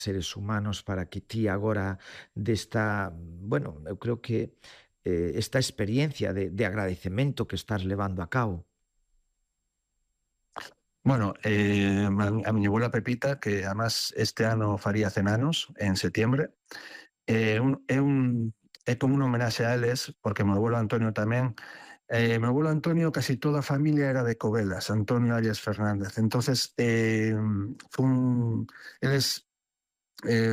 seres humanos para que ti agora desta, bueno, eu creo que esta experiencia de agradecemento que estás levando a cabo? Bueno, a miña abuela Pepita, que además este ano faría 100 anos, en setembro, é como unha homenaxe a eles, porque meu abuelo Antonio tamén. Meu abuelo Antonio, casi toda a familia era de Covelas, Antonio Arias Fernández. Entonces, eles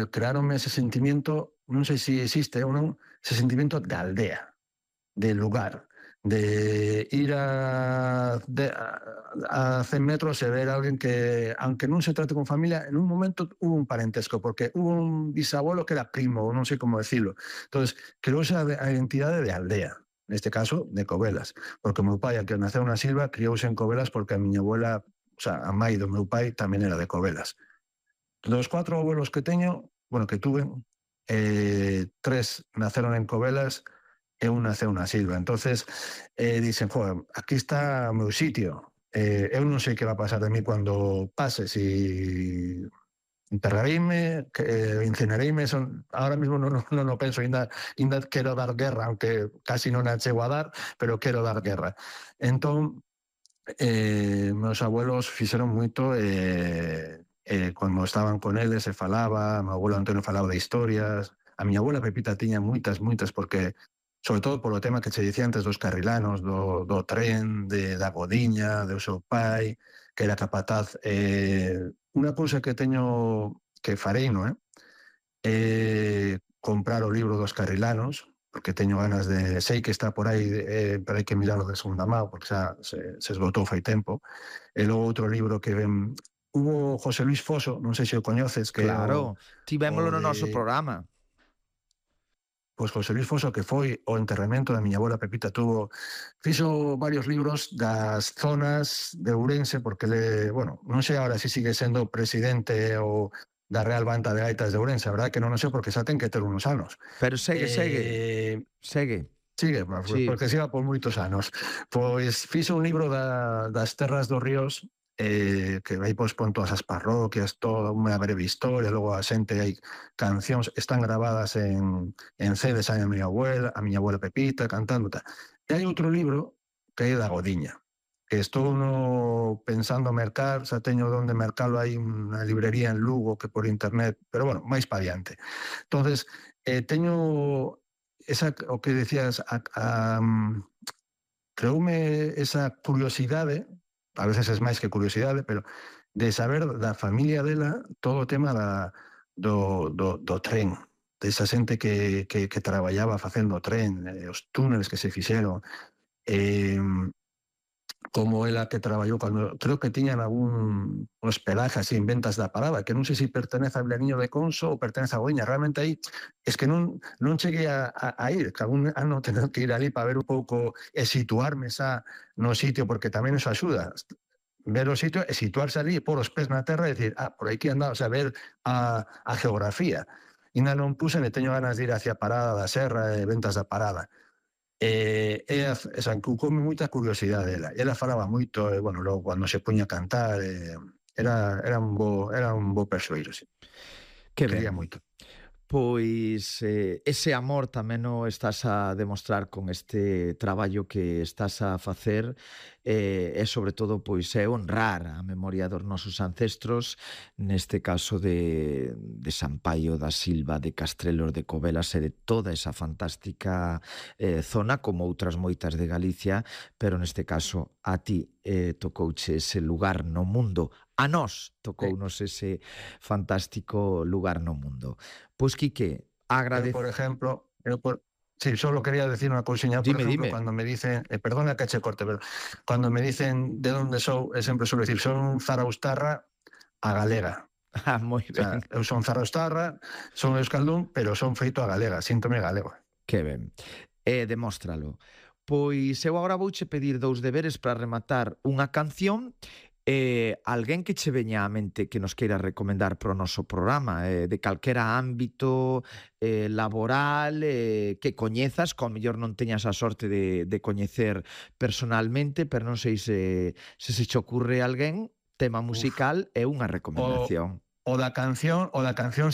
crearonme ese sentimiento, non sei se existe ou non, ese sentimiento de aldea, de lugar, de ir a 100 metros e ver a alguén que, aunque non se trate con familia, en un momento hubo un parentesco, porque hubo un bisabuelo que era primo, ou non sei como decirlo. Entonces, creouse a identidade de aldea, neste caso, de Covelas, porque o meu pai, que naceu na Silva, criouse en Covelas porque a miña abuela, o sea, a mai do meu pai tamén era de Covelas. Dos 4 abuelos que teño, bueno, que tuve, 3 naceron en Covelas e un naceu na Silva. Entonces, dicen, joder, aquí está o meu sitio. Eu non sei que va a pasar de mí cando pase, si enterrareime, que incinerareime, ahora mismo non o penso, ainda quero dar guerra, aunque casi non a chego a dar, pero quero dar guerra. Entón, meus abuelos fixeron moito, cando estaban con eles se falaba, meu abuelo Antonio falaba de historias, a miña abuela Pepita tiña moitas, porque, sobre todo polo tema que che dicía antes dos carrilanos, do tren, da Godiña, do seu pai, que era capataz. Unha cousa que teño, que farei, non é? Comprar o libro dos carrilanos, porque teño ganas de... Sei que está por aí, pero hai que miralo de segunda mão, porque xa se esgotou fai tempo. E logo outro libro que ven... Hubo José Luis Foso, non sei se o coñeces, que é Claro, o tivémolo no noso de... programa. Pois José Luis Foso, que foi o enterramento da miña abuela Pepita, fixo varios libros das zonas de Ourense, porque bueno, non sei agora se sigue sendo presidente ou da Real Banda de Gaitas de Ourense, a verdade que non o sei, porque xa ten que ter unos anos. Pero segue. Sigue, Sí. porque siga por moitos anos. Pois fixo un libro das terras dos ríos, que aí pois pon todas as parroquias, toda unha breve historia, logo a xente, hai cancións, están gravadas en CDs, hai a miña abuela Pepita cantando, tal. E hai outro libro que é da Godiña, que estou pensando mercar, xa teño onde mercalo, hai unha librería en Lugo que por internet, pero bueno, máis pa diante. Entonces, teño o que decías, creoume esa curiosidade, a veces es máis que curiosidade, pero de saber da familia dela todo o tema do tren, desa xente que traballaba facendo o tren, os túneles que se fixeron, eh, como ela que traballou cando, creo que tiñan algún hospedaje así en Ventas da Parada, que non sei se pertenece a Vilariño de Conso ou pertenece a Goiña. Realmente aí es que non cheguei a ir, que algún ano tener que ir ali para ver un pouco e situarme xa no sitio, porque tamén eso axuda, ver o sitio e situarse ali, pôr os pés na terra e decir, por aquí andaba, o sea, ver a geografía. Ainda non puse, me teño ganas de ir hacia Parada da Serra e Ventas da Parada. Esa cucoume moita curiosidade dela. E ela falaba moito, e, bueno, logo cando se puña a cantar, era un bo persoeiro, sí. Que Quería ben. moito. Pois ese amor tamén o estás a demostrar con este traballo que estás a facer, e sobre todo pois é honrar a memoria dos nosos ancestros, neste caso de San Paio da Silva, de Castrelos de Covelas e de toda esa fantástica zona, como outras moitas de Galicia, pero neste caso a ti tocouche ese lugar no mundo. A nós tocounos ese fantástico lugar no mundo. Pois, Quique, Por ejemplo, sí, solo quería decir unha cousiña. Por ejemplo, Dime. cuando me dicen, perdona que che corte, pero cuando me dicen de onde sou, sempre suelo decir, son zaraustarra a galega. Ah, moi O ben. sea, eu son zaraustarra, son euskaldún, pero son feito a galega, síntome galego. Que ben. Demóstralo. Pois eu agora vouche pedir 2 deberes para rematar unha canción alguén que che veña á mente que nos queira recomendar para o noso programa, de calquera ámbito laboral, que coñezas, que ao mellor non teñas a sorte de coñecer personalmente, pero non sei se che ocurre alguén, tema Uf, musical e unha o, recomendación. o da canción sí